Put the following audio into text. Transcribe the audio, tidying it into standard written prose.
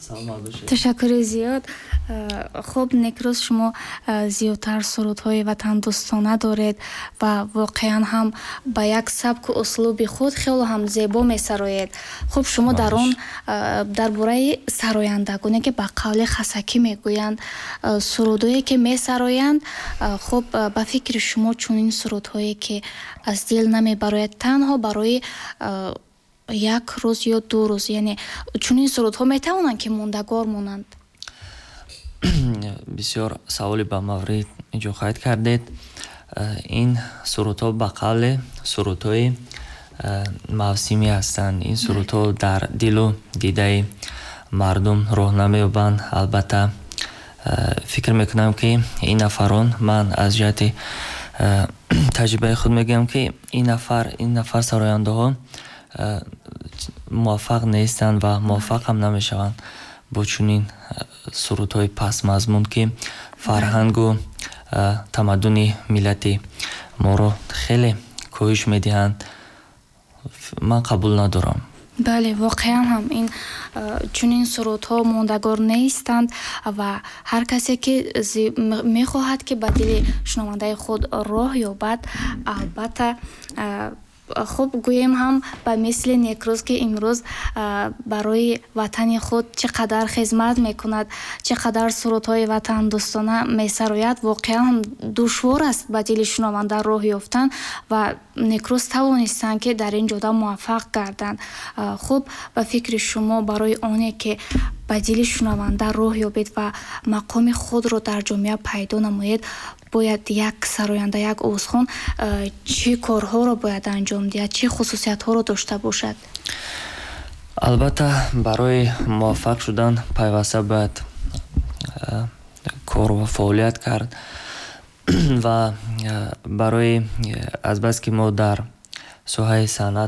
Саломат бошед. Ташаккури зиёд. Хуб, Некрӯз, шумо зиёдтар сурудҳои ватандӯстона доред ва воқеан ҳам ба як сабку услуби худ хело ҳам зебо месароед. Хуб, шумо дар он дар бораи сарояндагоне, ки ба қавли хасакӣ мегӯянд, сурудҳое ки месароянд, хуб, ба фикри шумо, чунин сурудҳое, ки аз дил намебарояд, танҳо барои як рӯз ё 2 рӯз, яъне чунин сурудҳо метавонанд, ки мондагор монанд? Бисёр саволи ба маврид инҷо қайд кардед. Ин сурудҳо ба қавле сурудҳои мавсимӣ ҳастанд. Ин сурудҳо дар дилу дидаи мардум роҳ намеёбанд. Албатта, фикр мекунам, ки ин нафарон, ман аз ҷиҳати таҷрибаи худ мегӯям, ки ин нафар сарояндаҳо муваффақ нестанд ва муваффақ ҳам намешаванд бо чунин сурудҳои пастмазмун, ки фарҳангу тамаддуни миллати моро хеле коҳиш медиҳанд. Ман қабул надорам. Бале, воқеан ҳам ин чунин сурудҳо мондагор нестанд ва ҳар касе, ки мехоҳад, ки ба дили шунавандаи худ роҳ ёбад, албатта, хуб, гӯем ҳам ба мисли Некрӯз, ки имрӯз барои ватани худ чӣ қадар хизмат мекунад, чӣ қадар сурудҳои ватандӯстона месарояд, воқеан ҳам душвор аст ба дили шунаванда роҳ ёфтан ва Некрӯз тавонистанд, ки дар ин ҷода муваффақ гарданд. Хуб, ба фикри шумо, барои оне ки ба дили шунаванда роҳ ёбед ва мақоми худро дар ҷомеа пайдо намоед, бояд як сароянда, як овозхон чӣ корҳоро бояд анҷом диҳад, чӣ хусусиятҳоро дошта бошад? Албатта, барои муваффақ шудан пайваста бояд кор ва фаъолият кард ва барои азбаски мо дар соҳаи санъат